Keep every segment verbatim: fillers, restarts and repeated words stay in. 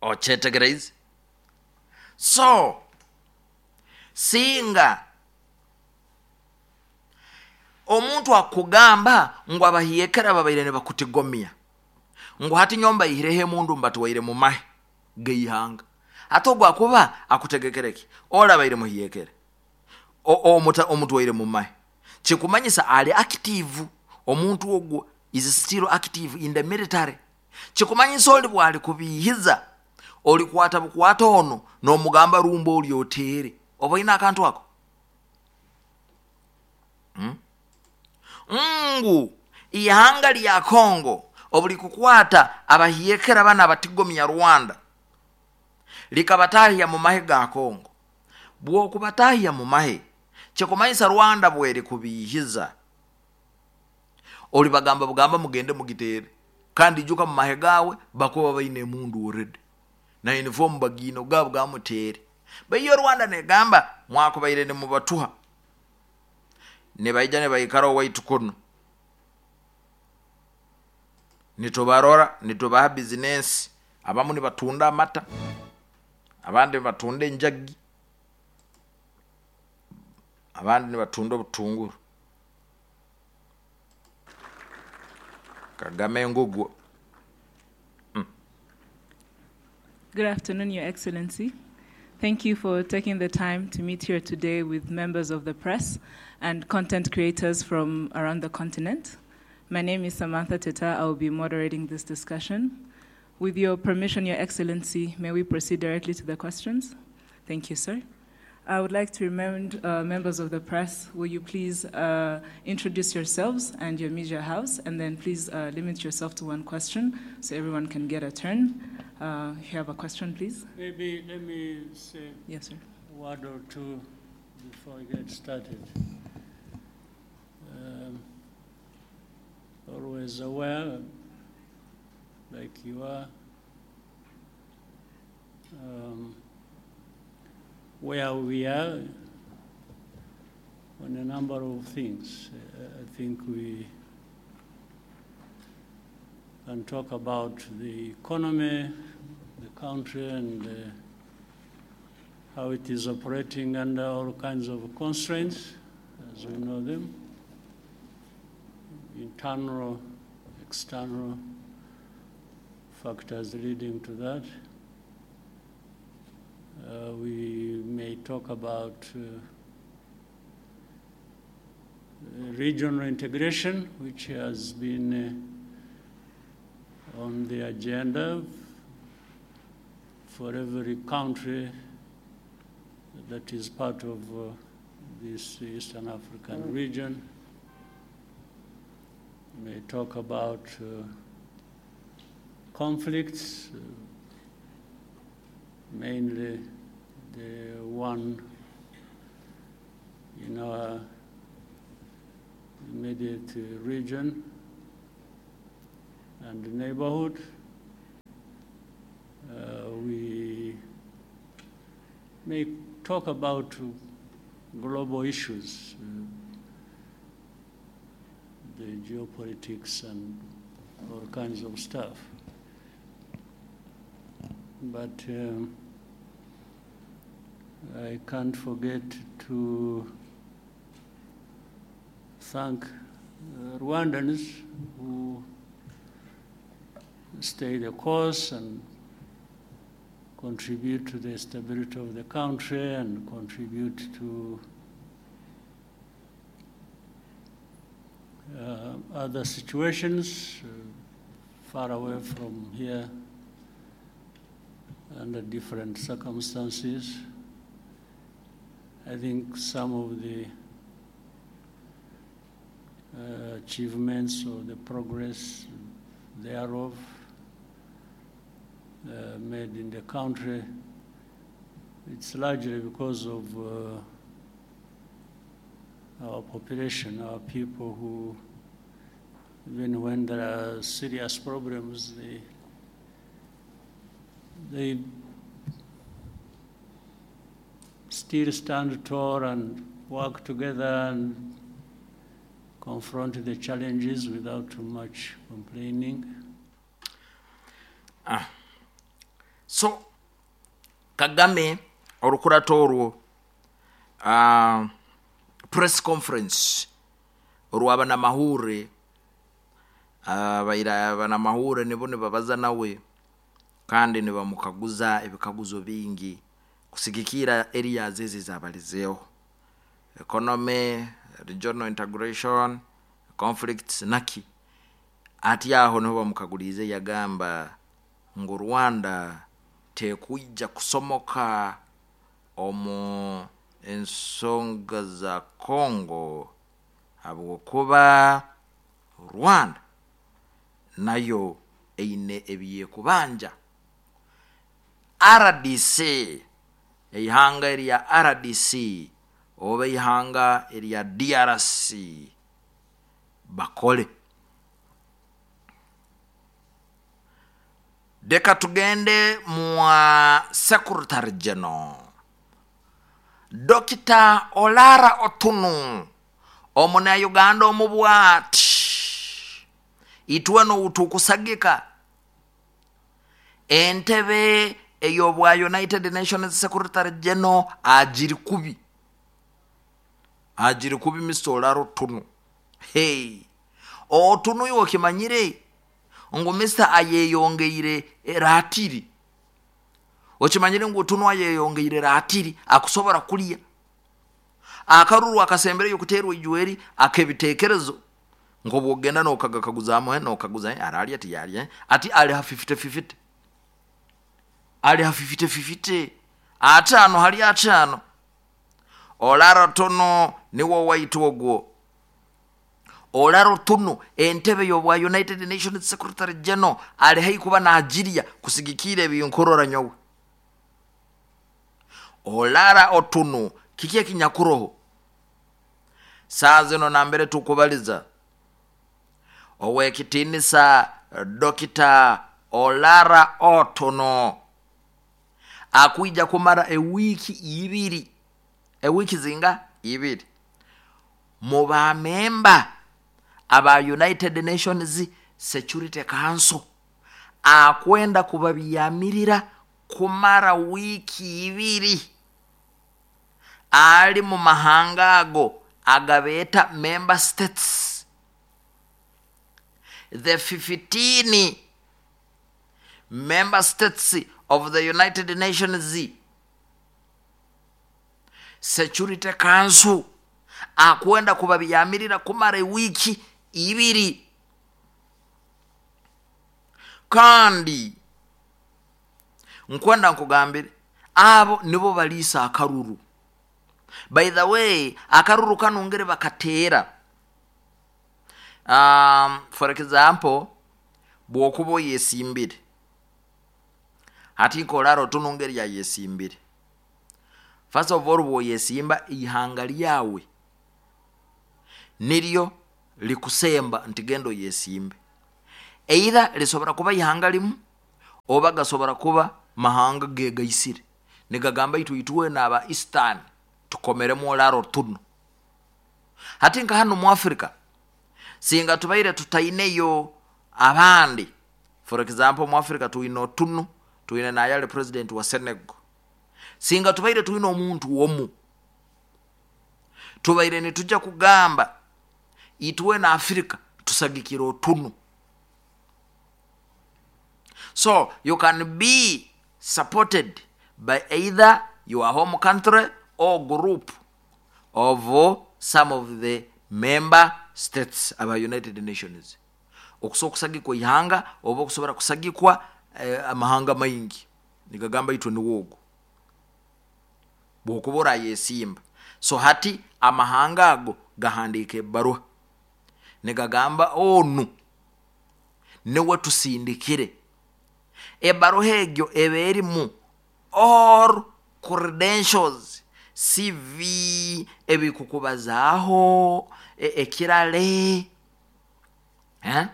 Okyetegereize? So singa omuntu akugamba ngu abahiyekera babaire nibakutigomya, ngu hati nyowe mbaihireho emundu mbatwaire mu mahe geihanga, ate ogwo akuba akutegekere ki? Orabaire muhiyekere omutwaire mu mahe, kikumanyisa ali active. Omuntu ogwo is still active in the military. Kikumanyisa oli bwali kubihiza, olikwata bukwata ono nomugamba rumba oli otere, oba oine akantu ako hmm? Ngu ihanga lya Kongo obulikukwata abahiyekera bana abatigomya Rwanda likabatahya mu mahe ga Kongo, bwokubatahya mu mahe kikumanyisa Rwanda bweri kubihiza, olibagamba bugamba mugende mugitere, kandi ijuka mu mahe gawe bakuba baine emundu already na uniform bagiine gabo gamutere. Baiyo Rwanda negamba mwakubaire nimubatuha, nibaija nibaikara owaitu kuno, nitubarora nitubaha bizinesi, abamu nibatunda amata, abandi nibatunda enjagi, abandi nibatunda obutunguru. Kagame ngugwo. Mm. Good afternoon, Your Excellency. Thank you for taking the time to meet here today with members of the press and content creators from around the continent. My name is Samantha Teta. I will be moderating this discussion. With your permission, Your Excellency, may we proceed directly to the questions? Thank you, sir. I would like to remind uh, members of the press, will you please uh, introduce yourselves and your media house, and then please uh, limit yourself to one question so everyone can get a turn. Uh, if you have a question, please. Maybe let me say Yes, sir. a word or two before I get started. Um, always aware, like you are, um, where we are on a number of things. Uh, I think we can talk about the economy, the country, and uh, how it is operating under all kinds of constraints, as we know them, internal, external factors leading to that. Uh, we may talk about uh, regional integration, which has been uh, on the agenda for every country that is part of uh, this Eastern African region. We may talk about uh, conflicts, uh, mainly the one in our immediate region and neighborhood. Uh, we may talk about global issues, uh, the geopolitics and all kinds of stuff. But um, I can't forget to thank uh, Rwandans who stay the course and contribute to the stability of the country and contribute to uh, other situations uh, far away from here under different circumstances. I think some of the uh, achievements or the progress thereof uh, made in the country, it's largely because of uh, our population, our people who, even when there are serious problems, they, they still stand tall and work together and confront the challenges without too much complaining. Ah. So Kagame orukurato orwo uh, press conference orw'abanamahure, abaira abanamahure nibo nibabaza nawe kandi nibamukaguza ebikaguzo bingi kusigikira areas ezi zabalizeeho, economy, regional integration, conflicts naki. Ati aho niho bamukagulize, yagamba ngu Rwanda tekwija kusomoka omu ensonga za Congo habwokuba Rwanda nayo eine ebyekubanja. R D C, eihanga erya R D C oba ihanga erya D R C bakole. Reka tugende mwa Secretary General Doctor Olara Otunu, omunauganda omubwati itwe noutukusagika entebe ey'obwa United Nations Secretary General agiri kubi, agiri kubi. Mister Olara Otunu, hey, Otunu iwe okimanyire ngu Mister ayeyongeire ratiri, okimanyire ngu Otunu ayeyongeire ratiri akusobora kulya akaruru akasembereyo kuterwa ijweri akebitekerezo nkobwogenda nokagakaguzamu nokaguza aralya tiyalya ati ali ha fifty fifty, ali ha fifty fifty, atano hali atano. Olara Otunu niwo waitu ogwo. Olara Otunu entebe y'obwa United Nations Secretary General ali hai kuba nagirya kusigikira ebinkorora nyowe. Olara Otunu kiki ekinyakuroho saa zino nambere tukubaliza owekitinisa Dokita Olara Otuno akwija kumara ewiiki ibiri, ewiiki zinga ibiri mu bamemba aba United Nations Security Council, akwenda kubabyamirira kumara wiiki ibiri ali mu mahanga ago agabeeta member states, the fifteen member states of the United Nations Security Council, akwenda kubabyamirira kumara ewiiki ibiri. Kandi nkwenda nkugambire abo nibo baliisa akaruru. By the way, akaruru kano ngere bakateera, um, for example, bwokuba oyesimbire hati nkolara Otunu ngeri yayesimbire, first of all bwoyesimba ihanga lyawe niryo likusemba nti genda oyesimbe, either lisobora kuba ihanga limu oba gasobora kuba mahanga gegaisire nigagamba itu itwe naba Eastern tukomeremu Olara Otuno. Hati nka hano mu Africa singa tubaire tutaineyo abandi, for example mu Africa tuine Otunu, tuine nayale president wa Senegal, singa tubaire tuine omuntu womu tubaire nitujja kugamba itwe na Africa tusagikira Otunu. So you can be supported by either your home country or group of some of the member states aba United Nations, okusobola okusagikwa ihanga oba okusobora kusagikwa eh, amahanga maingi nigagamba itwe niwogo bwokuba orayesimba. So hati amahanga ago gahandika ebbaruha nigagamba onu niwe tusindikire. Ebbaruha egyo eba erimu all credentials, C V, ebikukubazaaho, e- ekirale eh?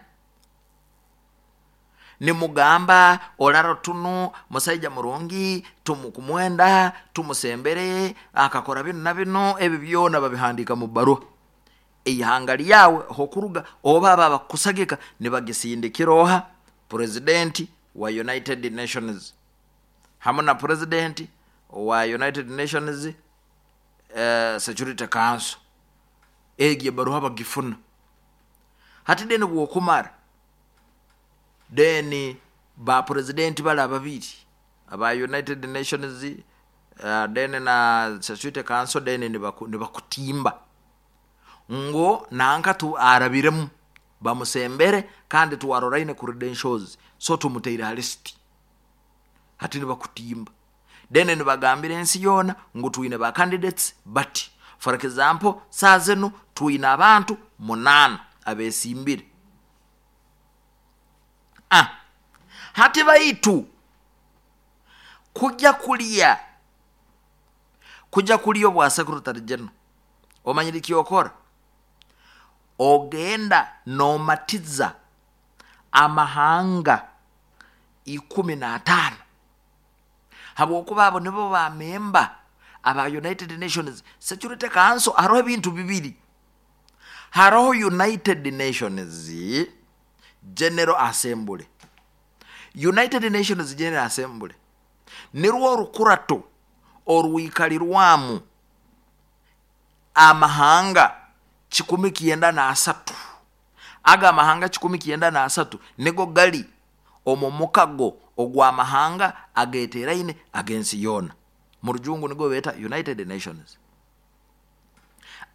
Nimugamba Olara Otunu musaija murungi, tumukumwenda tumusembere akakora bino na bino, ebi byona babihandika mu baruha ihanga lyawe hokuruga oba aba bakusagika nibagisindikira oha president wa United Nations. Hamu na president wa United Nations uh, Security Council. Egi ebaruha bagifuna. Hati deni bwokumara, deni ba president bala babiri aba United Nations, uh, deni na Security Council, deni nibakutimba ngo nanka tu arabiremu bamusembere kandi tuwaroraine credentials, so tumuteire list. Hati nibakutimba, deni nibagambira ensi yona ngu twine ba candidates, but for example saa zino twine abantu munana abesimbire. Ah, hati baitu kujja kulya kujja kulya obwa secretary general, omanyire kyokora, ogenda nomatiza amahanga ikumi na atano, habwokuba abo nibo bamemba aba United Nations Security Council. Hariho ebintu bibiri: hariho United Nations General Assembly. United Nations General Assembly nirwo orukurato orwikalirwamu amahanga kikumi kyenda na asatu. Aga amahanga kikumi kyenda na asatu nigo gali omu mukago ogw'amahanga ageteraine ag'ensi yoona. Mu rujungu nigo beeta United Nations.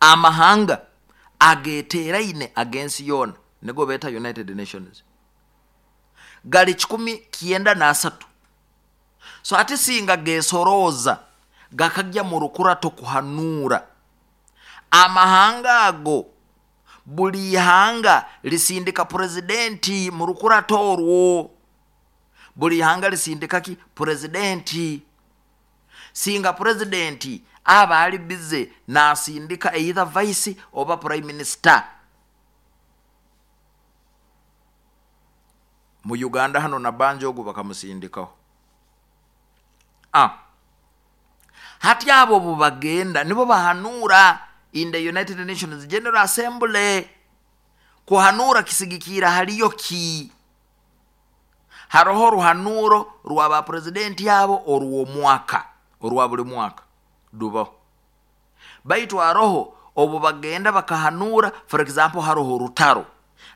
Amahanga ageteraine ag'ensi yoona nigo beeta United Nations, gali kikumi kyenda na asatu. So ate singa gesorooza gakajja mu rukurato kuhanuura amahanga ago, buli ihanga lisindika presidenti mu rukurato orwo. Buli ihanga lisindika ki? Presidenti. Singa presidenti aba ali bize nasindika either vice oba prime minister. Mu Uganda hano na Banjo ogu bakamusindikaho. Ah, hati abo bubagenda nibo bahanura in the United Nations General Assembly. Kuhanura kisigikira haliyo ki? Haroho ruhanuro rwa ba presidenti abo orw'omwaka, orwa buli mwaka dubaho. Baitu haroho obu bagenda bakahanura, for example haroho rutaro,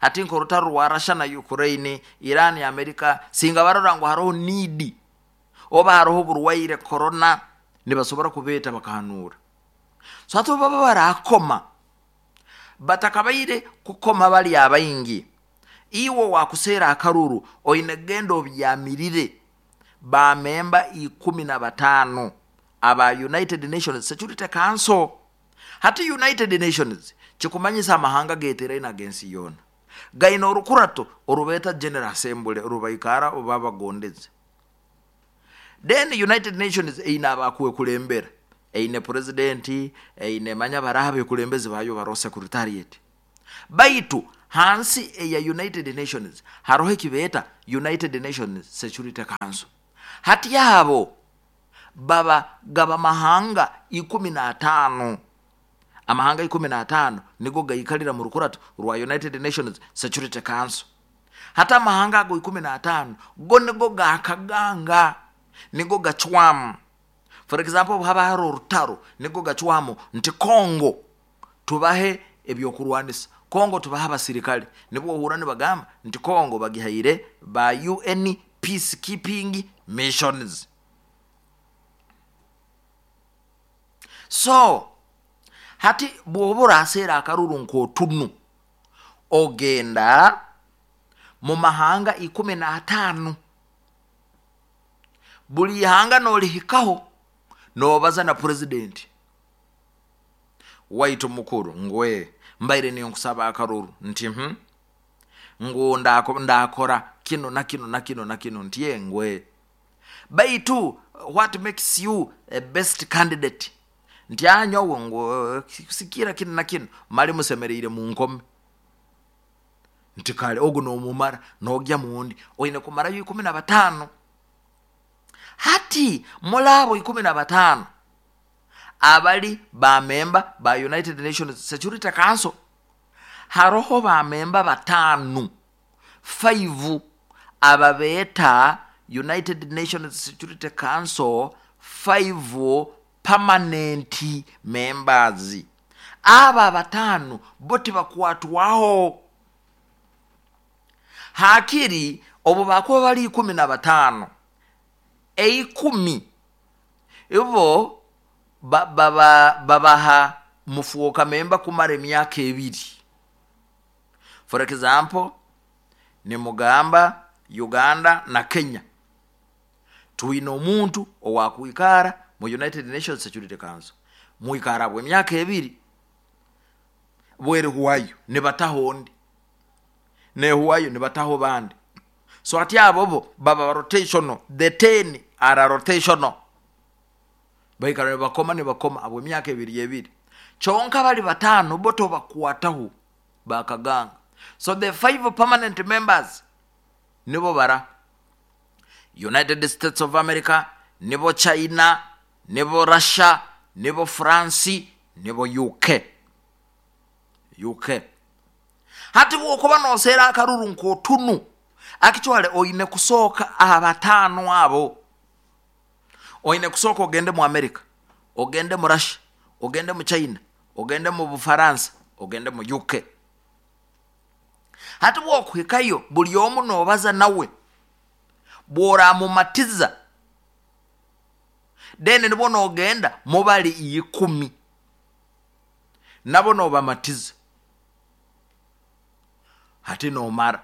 ati nko rutaro rwa Russia na Ukraine, Iran ya America, singa barora ngo haroho need oba haroho burwaire corona, nibasobora kubeta bakahanura. So hati baba barakoma batakabaire kukoma bali abaingi, iwo wakusera akaruru oine gendo obyamirire ba memba ikumi na batano aba United Nations Security Council. Hati United Nations kikumanyisa amahanga geteraine agensi yona gaina orukurato orubeta General Assembly orubaikara oba bagondeze. Then United Nations eine abakuwe kulembera, eine presidenti, eine manya barabe kulembezi bayo baro secretariat. Baitu hansi eya United Nations haroho ekibeta United Nations Security Council. Hati yabo baba gaba mahanga ikumi na atano. Amahanga ikumi na atano nigo gaikalira mu rukurato rwa United Nations Security Council. Hata amahanga ago ikumi na atano go nigo gakaganga, nigo gacwamu. For example haba haro rutaro nigo gacwamu nti Kongo tubahe ebyokurwanisa, Kongo tubaha abasirikale. Nibwo ohura nibagamba nti Kongo bagihaire ba U N peacekeeping missions. So hati bwoba oraseera akaruru nk'otunu, ogenda mu mahanga ikumi na atano, buli ihanga nolihikaho nobaza na president waitu mukuru ngwe mbaire niyo nkusaba akaruru nti hmm? Ngu ndako, ndakora kino na kino na kino na kino nti ye ngwe baitu what makes you a best candidate nti anyowe ngu sikira kino na kino mali musemereire mu nkome nti kale ogu nomumara nogya mundi oine kumarayo ikumi na batano. Hati mulabo ikumi na batano abali ba memba ba United Nations Security Council, haroho ba memba batanu five ababeta United Nations Security Council five permanent members. Aba abataano bo tibakwatwaho. Hakiri obu bakuba bali ikumi na bataano, eikumi ibo ba- baba- babaha mufuuka memba kumara emyaka ebiri. For example, nimugamba Uganda na Kenya twine omuntu owakwikara mu United Nations Security Council, mwikara bwe emyaka ebiri, bwerihwayo nibataho ondi, nehuwayo nibataho bandi. So ati abo bo baba rotational. The ten are rotational, baikara nibakoma nibakoma abo emyaka ebiri ebiri. Kyonka bali bataano bo tobakwataho, bakaganga. So the five permanent members nibo bara United States of America, nibo China, nibo Russia, nibo France, nibo uk uk Hati bwokuba noseera akaruru nkotunu, actually oine kusooka abataano abo, oine kusooka ogende mu America, ogende mu Russia, ogende mu China, ogende mu Bufaransa, ogende mu U K. Hati bwokuhikayo, buli omu nobaza nawe, bworamumatiza, then nibwo nogenda mubali ikumi, nabo nobamatiza, hati nomara.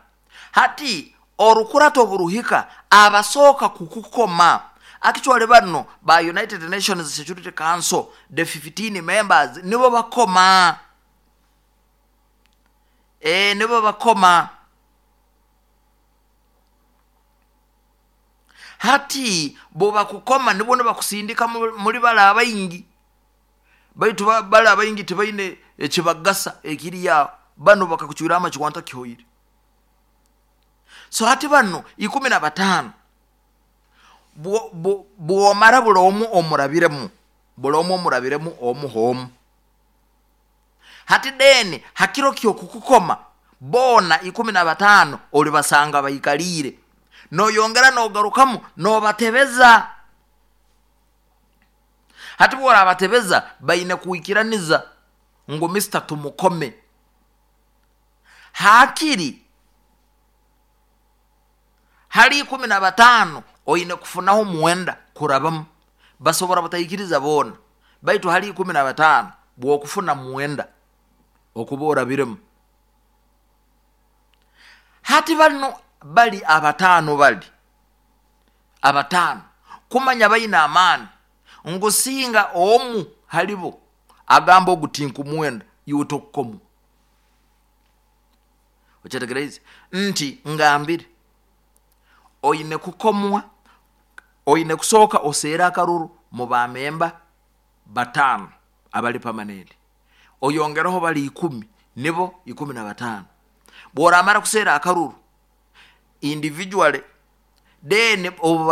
Hati orukurato oburuhika, abasooka kukukoma actually bano ba United Nations Security Council, the fifteen members, nibo bakoma. e, nibo bakoma. Hati bobakukoma, nibo nibakusindika muri bala abaingi, baitu bala abaingi tibaine ekibagasa ekiriya. Bano bakakucwira amakiwanta kihoire. So hati bano ikumi na bataano, bwomara buli omu omurabiremu, buli omu omurabiremu omu homu. Hati deni hakiro kyokukukoma, boona ikumi na bataano olibasanga baikaliire, noyongera nogarukamu nobatebeza. Hati bworabatebeza, baine kuikiraniza ngu mister tumukome. Hakiri hali ikumi na bataano oine kufunaho muwenda kurabamu. Basobora bataikiriza boona, baitu hali ikumi na bataano bwokufuna muwenda okuba orabiremu. Hati bano bali abataano, bali abataano kumanya baina amaani ngusinga omu halibo agamba oguti muwenda, iwe tokukomu. Okyetegereze nti ngambire oine kukomwa, oine kusooka oseera akaruru mu bamemba bataano abali permanent, oyongereho bali ikumi, nibo ikumi na bataano. Bworamara kuseera akaruru individually, then obu